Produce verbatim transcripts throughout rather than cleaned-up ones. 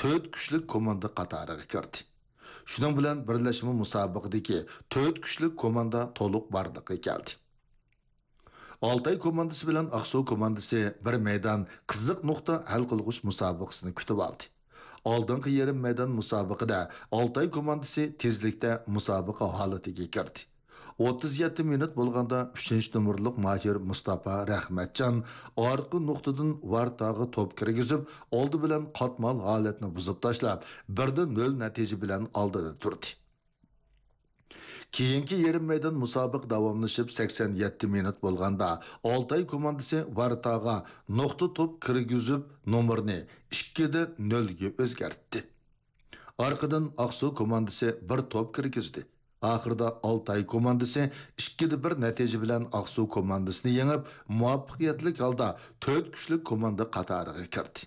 تۆت كۈچلۈك كوماندا قاتارىغا كىردى. شۇنىڭ بىلەن بىرلەشمە مۇسابىقىدىكى تۆت كۈچلۈك كوماندا تولۇق بارلىققا كەلدى. ئالتاي كوماندىسى بىلەن ئاقسۇ كوماندىسى بىر مەيدان قىزىق نۇقتا ھەل قىلغۇچ مۇسابىقىسىنى كۈتۈۋالدى. ئالدىنقى يېرىم مەيدان مۇسابىقىدە ئالتاي كوماندىسى تېزلىكتە مۇسابىقە ھالىتىگە كىردى. ئوتتۇز يەتتە مىنۇت بولغاندا ئۈچىنچى نومۇرلۇق ماھىر مۇستاپا رەھمەتجان ئارقا نۇقتىدىن ۋارتاغا توپ كىرگۈزۈپ، ئالدى بىلەن قاتمال ھالەتنى بۇزۇپ تاشلاپ، بىر دە نۆل نەتىجە بىلەن ئالدىدا تۇردى. كېيىنكى يېرىم مەيدان مۇسابىقە داۋاملىشىپ، سەكسەن يەتتە مىنۇت بولغاندا، ئالتاي كوماندىسى ۋارتاغا نۇقتا توپ كىرگۈزۈپ، نومۇرنى ئىككى دە نۆلگە ئۆزگەرتتى. ئارقىدىن ئاقسۇ كوماندىسى بىر توپ كىرگۈزدى. ئاخىرىدا ئالتاي كوماندىسى ئىككى دە بىر نەتىجە بىلەن ئاقسۇ كوماندىسىنى يېڭىپ، مۇۋەپپەقىيەتلىك ھالدا تۆت كۈچلۈك كوماندا قاتارىغا كىردى.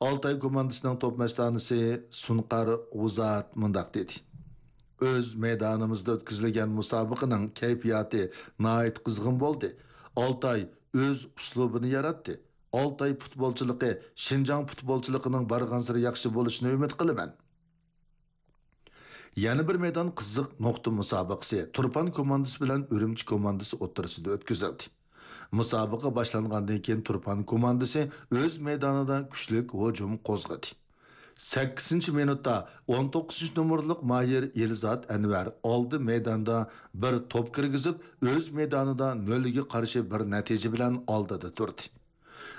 ئالتاي كوماندىسىنىڭ توپ مەستانىسى سۇنقار غۇزات مۇنداق دېدى: «ئۆز مەيدانىمىزدا ئۆتكۈزۈلگەن مۇسابىقىنىڭ كەيپىياتى ناھايىتى قىزغىن بولدى. ئالتاي ئۆز ئۇسلۇبىنى ياراتتى. ئالتاي پۇتبولچىلىقى شىنجاڭ پۇتبولچىلىقىنىڭ بارغانسېرى ياخشى بولۇشىنى ئۈمىد قىلىمەن.» يەنە بىر مەيدان قىزىق نۇقتا مۇسابىقىسى تۇرپان كوماندىسى بىلەن ئۈرۈمچى كوماندىسى ئوتتۇرىسىدا ئۆتكۈزۈلدى. مۇسابىقە باشلانغاندىن كېيىن تۇرپان كوماندىسى ئۆز مەيدانىدا كۈچلۈك ھۇجۇم قوزغىدى. سەككىزىنچى مىنۇتتا ئون توققۇزىنچى نومۇرلۇق ماھىر ئېلزات ئەنۋەر ئالدى مەيداندا بىر توپ كىرگۈزۈپ، ئۆز مەيدانىدا نۆلگە قارشى بىر نەتىجە بىلەن ئالدىدا تۇردى.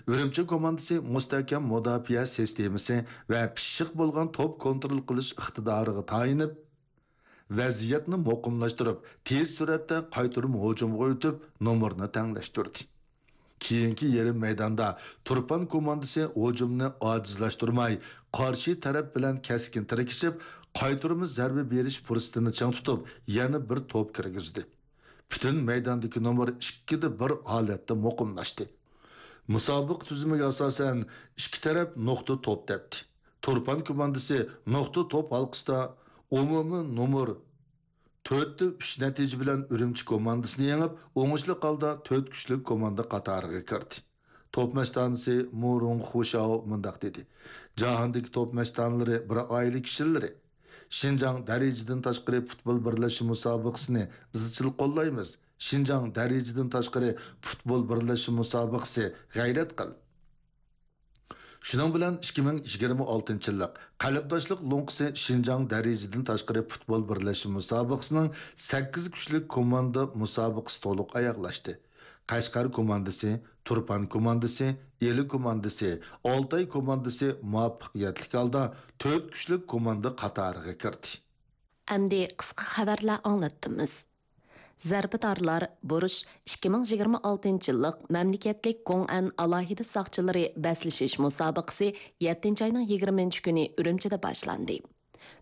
ئۈرۈمچى كوماندىسى مۇستەھكەم مۇداپىئە سىستېمىسى ۋە پىششىق بولغان توپ كونترول قىلىش ئىقتىدارىغا تايىنىپ، ۋەزىيەتنى مۇقىملاشتۇرۇپ، تېز سۈرئەتتە قايتۇرما ھۇجۇمغا ئۆتۈپ، نومۇرنى تەڭلەشتۈردى. كېيىنكى يېرىم مەيداندا تۇرپان كوماندىسى ھۇجۇمنى ئاجىزلاشتۇرماي، قارشى تەرەپ بىلەن كەسكىن تىركىشىپ، قايتۇرما زەربە بېرىش پۇرسىتىنى چىڭ تۇتۇپ، يەنە بىر توپ كىرگۈزدى. پۈتۈن مەيداندىكى نومۇر ئىككىدە بىر ھالەتتە مۇقىملاشتى. مۇسابىقە تۈزۈمىگە ئاساسەن، ئىككى تەرەپ نۇقتا توپ تەپتى. تۇرپان كوماندىسى نۇقتا توپ ھالقىسىدا ئومۇمىي نومۇر تۆتتە ئۈچ نەتىجە بىلەن ئۈرۈمچى كوماندىسىنى يېڭىپ، ئوڭۇشلۇق ھالدا تۆت كۈچلۈك كوماندا قاتارىغا كىردى. توپ مەستانىسى مۇ رۇڭ خۇشاۋ مۇنداق دېدى: «جاھاندىكى توپ مەستانىلىرى بىر ئائىلە كىشىلىرى. شىنجاڭ دەرىجىدىن تاشقىرى پۇتبول بىرلەشمە مۇسابىقىسىنى ئىزچىل قوللايمىز. شىنجاڭ دەرىجىدىن تاشقىرى پۇتبول بىرلەشمە مۇسابىقىسى غەيرەت قىل.» شۇنىڭ بىلەن ئىككى مىڭ يىگىرمە ئالتىنچى يىللىق قەلبداشلىق لوڭقىسى شىنجاڭ دەرىجىدىن تاشقىرى پۇتبول بىرلەشمە مۇسابىقىسىنىڭ سەككىز كۈچلۈك كوماندا مۇسابىقىسى تولۇق ئاياغلاشتى. قەشقەر كوماندىسى، تۇرپان كوماندىسى، ئىلى كوماندىسى، ئالتاي كوماندىسى مۇۋەپپەقىيەتلىك ھالدا تۆت كۈچلۈك كوماندا قاتارىغا كىردى. ئەمدى قىسقا خەۋەرلەر ئاڭلاتتىمىز. زەربىدارلار بۇرۇش ئىككى مىڭ يىگىرمە ئالتىنچى يىللىق مەملىكەتلىك گوڭئەن ئالاھىدە ساقچىلىرى بەسلىشىش مۇسابىقىسى يەتتىنچى ئاينىڭ يىگىرمىنچى كۈنى ئۈرۈمچىدە باشلاندى.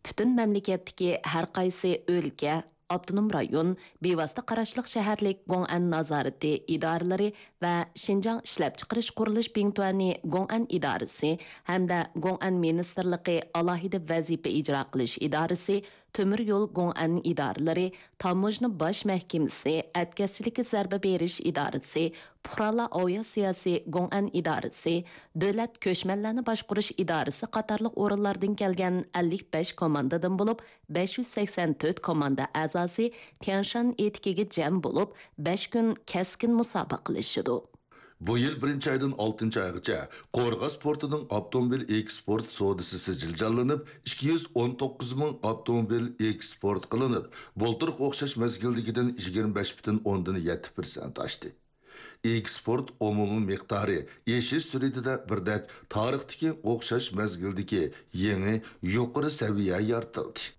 پۈتۈن مەملىكەتتىكى ھەر قايسى ئۆلكە، ئاپتونوم رايون، بىۋاسىتە قاراشلىق شەھەرلىك گوڭئەن نازارىتى ئىدارىلىرى ۋە شىنجاڭ ئىشلەپچىقىرىش قۇرۇلۇش بىڭتۈەنى گوڭئەن ئىدارىسى ھەمدە گوڭئەن مىنىستىرلىقى ئالاھىدە ۋەزىپە ئىجرا قىلىش ئىدارىسى، تۆمۈر يول گوڭئەن ئىدارىلىرى، تاموژنا باش مەھكىمىسى، ئەتكەسچىلىككە زەربە بېرىش ئىدارىسى، پۇقرالار ئاۋىئاتسىياسى گوڭئەن ئىدارىسى، دۆلەت كۆچمەنلەرنى باشقۇرۇش ئىدارىسى قاتارلىق ئورۇنلاردىن كەلگەن ئەللىك بەش كوماندىدىن بولۇپ، بەش يۈز سەكسەن تۆت كوماندا ئەزاسى تيەنشان ئېتىكىگە جەم بولۇپ، بەش كۈن كەسكىن مۇسابىقىلىشىدۇ. بۇ يىل بىرىنچى ئايدىن ئالتىنچى ئايغىچە قورغاس پورتىنىڭ ئاپتوموبىل ئېكسپورت سودىسى سىجىل جانلىنىپ، ئىككى يۈز ئون توققۇز مىڭ ئاپتوموبىل ئېكسپورت قىلىنىپ، بۇلتۇرقى ئوخشاش مەزگىلدىكىدىن يىگىرمە بەش پۈتۈن ئوندىن يەتتە پىرسەنت ئاشتى. ئېكسپورت ئومۇمىي مىقدارى ئېشىش سۈرئىتىدە بىردەك تارىختىكى ئوخشاش مەزگىلدىكى يېڭى يۇقىرى سەۋىيە يارىتىلدى.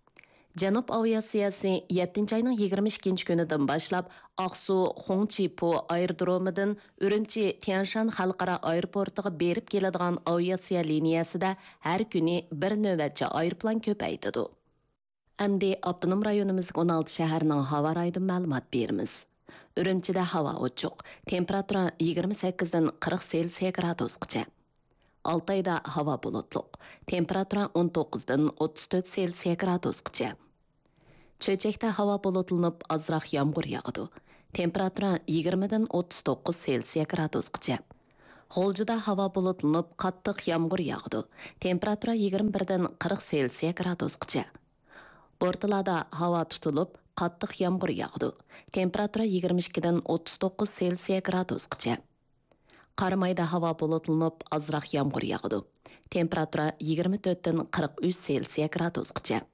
جەنۇب ئاۋىئاتسىيەسى يەتتىنچى ئاينىڭ يىگىرمە ئىككىنچى كۈنىدىن باشلاپ ئاقسۇ خۇڭچىپۇ ئايرودرومىدىن ئۈرۈمچى تيەنشان خەلقئارا ئايروپورتىغا بېرىپ كېلىدىغان ئاۋىئاتسىيە لىنىيەسىدە ھەر كۈنى بىر نۆۋەتچە ئايروپىلان كۆپەيتىدۇ. ئەمدى ئاپتونوم رايونىمىزدىكى ئون ئالتە شەھەرنىڭ ھاۋا رايىدىن مەلۇمات بېرىمىز. ئۈرۈمچىدە ھاۋا ئوچۇق، تېمپېراتۇرا يىگىرمە سەككىزدىن قىرىق سېلسىيە گرادۇسقىچە. ئالتايدا ھاۋا بۇلۇتلۇق، تېمپېراتۇرا ئون توققۇزدىن ئوتتۇز تۆت سېلسىيە گرادۇسقىچە. چۆچەكتە ھاۋا بۇلۇتلىنىپ، ئازراق يامغۇر ياغىدۇ. تېمپېراتۇرا يىگىرمىدىن ئوتتۇز توققۇز سېلسىيە گرادۇسقىچە. غۇلجىدا ھاۋا بۇلۇتلىنىپ، قاتتىق يامغۇر ياغىدۇ. تېمپېراتۇرا يىگىرمە بىردىن قىرىق سېلسىيە گرادۇسقىچە. بورتالادا ھاۋا تۇتۇلۇپ، قاتتىق يامغۇر ياغىدۇ. تېمپېراتۇرا يىگىرمە ئىككىدىن ئوتتۇز توققۇز سېلسىيە گرادۇسقىچە. قارامايدا ھاۋا بۇلۇتلىنىپ، ئازراق يامغۇر ياغىدۇ. تېمپېراتۇرا يىگىرمە تۆتتىن قىرىق ئۈچ سېلسىيە گرادۇسقىچە.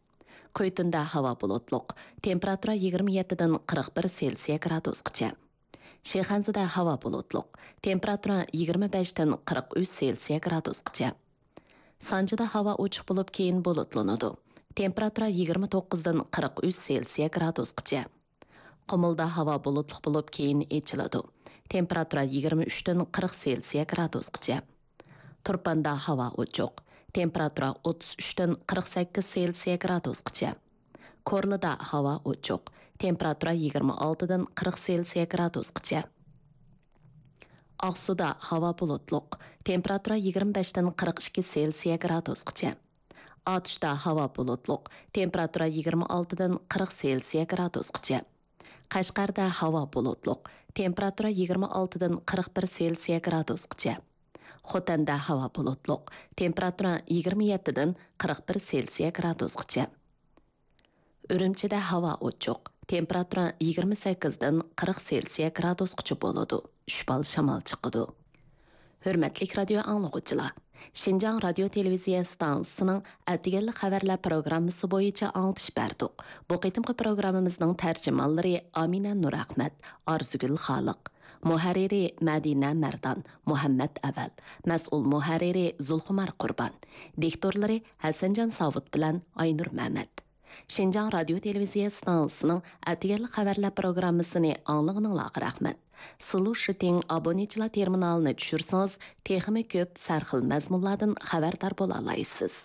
كۈيتۇندا ھاۋا بۇلۇتلۇق. تېمپېراتۇرا يىگىرمە يەتتىدىن قىرىق بىر سېلسىيە گرادۇسقىچە. شىخەنزىدە ھاۋا بۇلۇتلۇق. تېمپېراتۇرا يىگىرمە بەشتىن قىرىق ئۈچ سېلسىيە گرادۇسقىچە. سانجىدا ھاۋا ئوچۇق بولۇپ، كېيىن بۇلۇتلىنىدۇ. تېمپېراتۇرا يىگىرمە توققۇزدىن قىرىق ئۈچ سېلسىيە گرادۇسقىچە. قۇمۇلدا ھاۋا بۇلۇتلۇق بولۇپ، كېيىن ئېچىلىدۇ. تېمپېراتۇرا يىگىرمە ئۈچتىن قىرىق سېلسىيە گرادۇسقىچە. تۇرپاندا ھاۋا ئوچۇق. تېمپېراتۇرا ئوتتۇز ئۈچتىن قىرىق سەككىز سېلسىيە گرادۇسقىچە. كورلىدا ھاۋا ئوچۇق. تېمپېراتۇرا يىگىرمە ئالتىدىن قىرىق سېلسىيە گرادۇسقىچە. ئاقسۇدا ھاۋا بۇلۇتلۇق. تېمپېراتۇرا يىگىرمە بەشتىن قىرىق ئىككى سېلسىيە گرادۇسقىچە. ئاتۇشتا ھاۋا بۇلۇتلۇق. تېمپېراتۇرا يىگىرمە ئالتىدىن قىرىق سېلسىيە گرادۇسقىچە. قەشقەردە ھاۋا بۇلۇتلۇق. تېمپېراتۇرا يىگىرمە ئالتىدىن قىرىق بىر سېلسىيە گرادۇسقىچە. خوتەندە ھاۋا بۇلۇتلۇق. تېمپېراتۇرا يىگىرمە يەتتىدىن قىرىق بىر سېلسىيە گرادۇسقىچە. ئۈرۈمچىدە ھاۋا ئوچۇق. تېمپېراتۇرا يىگىرمە سەككىزدىن قىرىق سېلسىيە گرادۇسقىچە بولىدۇ. شۈپال شامال چىقىدۇ. ھۆرمەتلىك رادىيو ئاڭلىغۇچىلار! شىنجاڭ رادىيو تېلېۋىزىيە ئىستانسىسىنىڭ ئەتىگەنلىك خەۋەرلەر پروگراممىسى بويىچە ئاڭلىتىش بەردۇق. بۇ قېتىمقى پروگراممىمىزنىڭ تەرجىمانلىرى ئامىنە نۇرئەخمەت، ئارزۇگۈل خالىق، مۇھەررىرى مەدىنە مەردان، مۇھەممەت ئەۋەل، مەسئۇل مۇھەررىرى زۇلخۇمار قۇربان، دىكتورلىرى ھەسەنجان ساۋۇت بىلەن ئاينۇر مەمەت. شىنجاڭ رادىيو تېلېۋىزىيە ئىستانسىسىنىڭ ئەتىگەنلىك خەۋەرلەر پروگراممىسىنى ئاڭلىغىنىڭلارغا رەھمەت. سىلۇشىتىڭ ئابونېنتچىلار تېرمىنالىنى چۈشۈرسىڭىز، تېخىمۇ كۆپ سەرخىل مەزمۇنلاردىن خەۋەردار بولالايسىز.